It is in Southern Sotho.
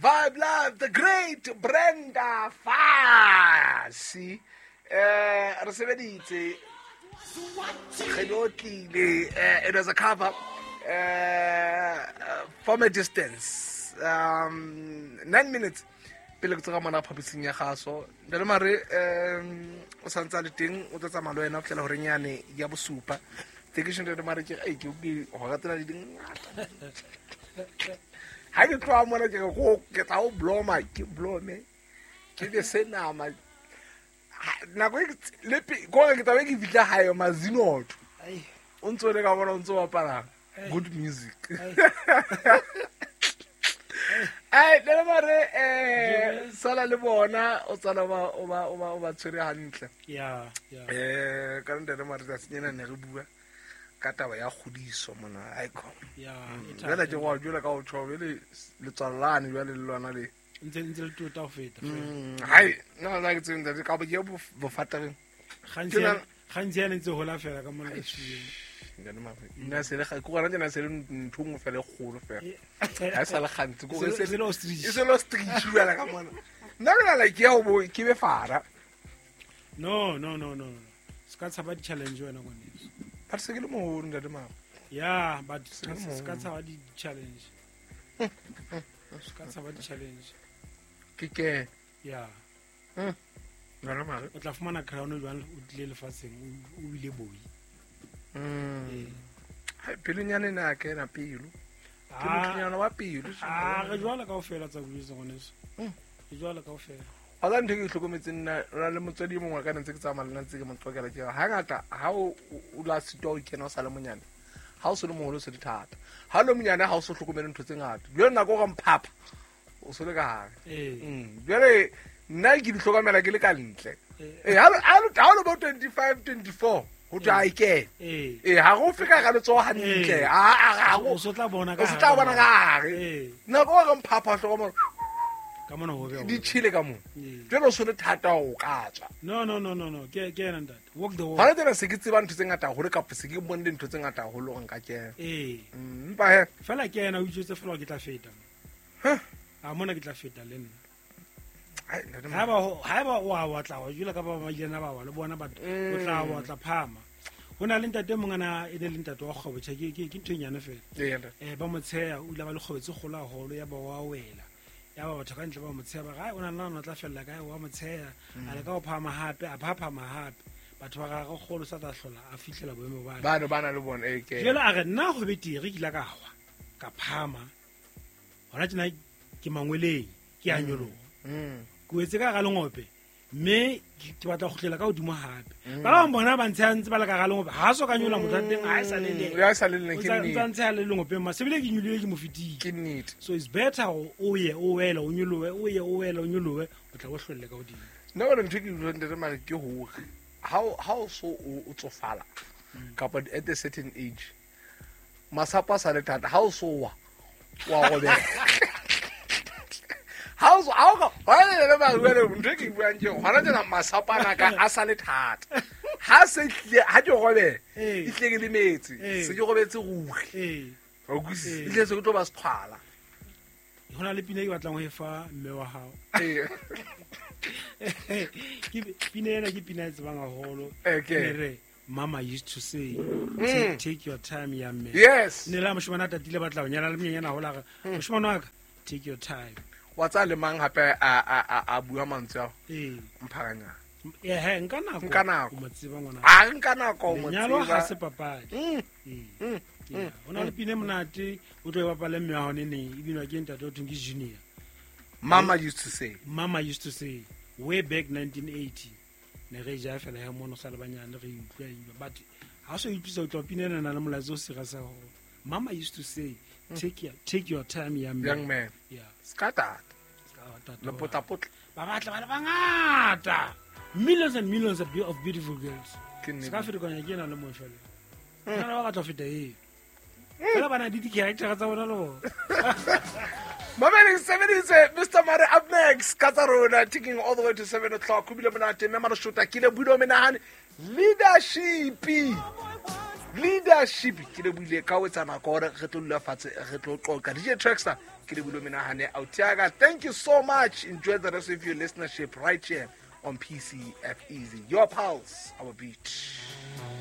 Vibe Live, the great Brenda Fassie. Re sebeditse re lo tlile, it was a cover from a distance, 9 minutes pele ke tsoga mona phaposing ya gaso. Ntate Mare o santse a le teng, o tlo tsamaya le wena go fitlhela goreng yane ya bosupa tekešo. Ntate Mare, ke ei ke gora tsena di dingata ga ke tloga mona, ke re ke tla o bloma, ke blome, ke be se nama. Nako e le kore ke tlabe ke fitlha gae mazinoto o ntse o le ka bona o ntse o bapala good music. Ai, ntate Mare, sala le bona, o tsala o ba tshwere hantle. Ya. Ka ntate Mare, tsatsing ena ne re bua ka taba ya kgodiso mona icon. Ya, e Jwale thata. Ke go jwale ka o tjho jwale letswalo lane jwale le lona le Ntse le tota ho feta fela. Hai, nna la ke tsebe ntate ka bo ke bofatereng. Gantsi gantsi yana ntse hola fela ka mona setjhabeng. Ntate Mare, nna se le ke gona tjena se le ntho e nngwe fela e kgolo fela ha e sa le gantsi ko Se le ostrich. E se le ostrich jwale ka mona. Nna ke nala ke ya ho bo ke be fara. No, no, no, no, no, se ka tshaba di-challenge wena, ngwaneso. But se ke le moholo, ntate Mare. Ya, but Se le se ka moholo. tshaba di-challenge, se ka tshaba di-challenge. Ke Ya. Ntate Mare. O tla fumana crown jwang o tlile lefatsheng o bile boi? Ee. Hai, pelonyana ena ya kena pelo ke motlonyana wa pelo. Ah, re jwala kaofela tsa bojetse, ngwaneso. Re jwala kaofela. Wa tsa ntho e ke itlhokometseng nna, re na le motswadi e mongwe wa ka ne ntse ke tsamaya le nna, ntse ke mo qoqela, ke re hangata ha o la sitwa ho kena o sa le monyane, ha o se le moholo o se le thata. Ha o le monyane ha o so hlokomele ntho tse ngata, jwale nako o re mphapha o se le ka hare. Ee. Jwale nna ke di hlokomela ke le ka ntle. Ee. Ee, ha o le bo 25, 24 ho thwe ha e kene. Ee. Ee, ha go feka ka letsoho hantle. Ee. Ha O so tla bona ka o se tla hare bona ka hare. Ee. Nako o re mphapha hlokomela Ka mona ho be di tjhele ka moo. Ee. Jwale o se le thata hore o ka tswa. No, no, no, no, no, ke ena, ntate, walk the walk. Gona tsena se ke tseba ntho tse ngata haholo kapa se ke bone dintho tse ngata haholo hore nka kena. Ee. Empa he Fela ke ena, o itswetse fela hore ke tla feta. Huh. A mona ke tla feta le nna. Ai, ntate Mare. Haeba o a wa tla wa jula ka ba ba ilena ba wa le bona, but o tla wa tla phama. Ho na le ntate e mong ana e ne le ntate wa kgwebo tjhe, ke ntho e nyane fela. Ee, ntate. Ba mo tsheya, o ile ba le kgwebo tse kgolo haholo, ya ba wa wela. Ya ba batho ka ntle ba mo tsheya, ba re, "Ai, o na nna o tla fella kae?" Wa mo tsheya, a leka ho phahama hape, a phaphama hape. Batho ba gagwe kgolo sa tla hlola a fihlela boemo ba. Bano ba na le bona, ee, ke Jwale a re nna ho betere ke ile ka wa ka phahama hona tjena ke mangweleng, ke a nyoloha. Ke wetse ka hara lengope mme ke batla ho kgutlela ka hodimo hape. Ba bang bona ba ntsheha ntse ba le ka hara lengope, ha so ka nyola motho wa teng ha e sa le le. Ya sa le le O ke ntsa nnete. ntsheha le lengopeng ma sebile ke nyolohile, ke mo fetile. Ke nnete. So it's better hore o ye o wele o nyolohe, o ye o wele o nyolohe, o tla bo hlolle ka hodimo. Nna bona ntho e ke utlwang, ntate Mare, ke hore ha o so o tsofala kapa at a certain age masapo a sa le thata, ha o so wa wa robeha. Ha o so ha o ka hona le le mare jwale ntho e ke e buang ke hore hona tjena masapo ana ka a sa le thata, ha se tlile ha ke robeha Ee. e tlile ke lemetse Ee. se ke robetse ruri. Ee. Wa utlwisisa? Ee. E tlile se ke tlo ba seqhwala. Ho na le pina e ke batlang ho e fa mme wa hao. Ee. Ke pina ena, ke pina e tsebang haholo. Okay. E ne re mama used to say, take your time, young man. Yes. Ne le ha moshemane a tatile batla ho nyala le monyenyana haholo, a re, moshemane wa ka, take your time. Wa tsaya le mang hape a bua mantswe ao? Ee. Mpharanyana. Ehe, nka nako. Nka nako. O mo tseba ngwana. A nka nako o mo Lenyalo ha tseba. se papadi. Ee. Yeah. Ho na le pina e monate o tlo e bapale mme wa hao neneng, e binwa ke ntate o thweng ke Junior. Mama used to say. Mama used to say way back 1980 ne re ja fela ya mono sa le banyane re utlwa e utlwa, but ha o so utlwisa utlwa pina ena na le molaetsa o serious haholo. Mama used to say, take your time, young man. Young man. Yeah. Ska tata. Ska ba tata Le wa. potlapotla. Ba batla ba le bangata, millions and millions of beautiful girls. Ke nnete. Se ka ferekanya ke ena le mong fela. Nna le ba batla ho feta eo fela ba na le di-character tsa bona le bona. Mamedi sebeditse Mr Mare up next ka tsa rona, taking all the way to 7 o'clock. Ho bile monate mme mare shota ke le bulo menahane leadership. Boy wants Leadership ke lebohile ka ho etsa nako gore re tlo dula fatshe re tlo qoqa. DJ Traxter, ke lebohile menahane autiaka. Thank you so much. Enjoy the rest of your listenership right here on PCF Easy. Your pulse, our beat.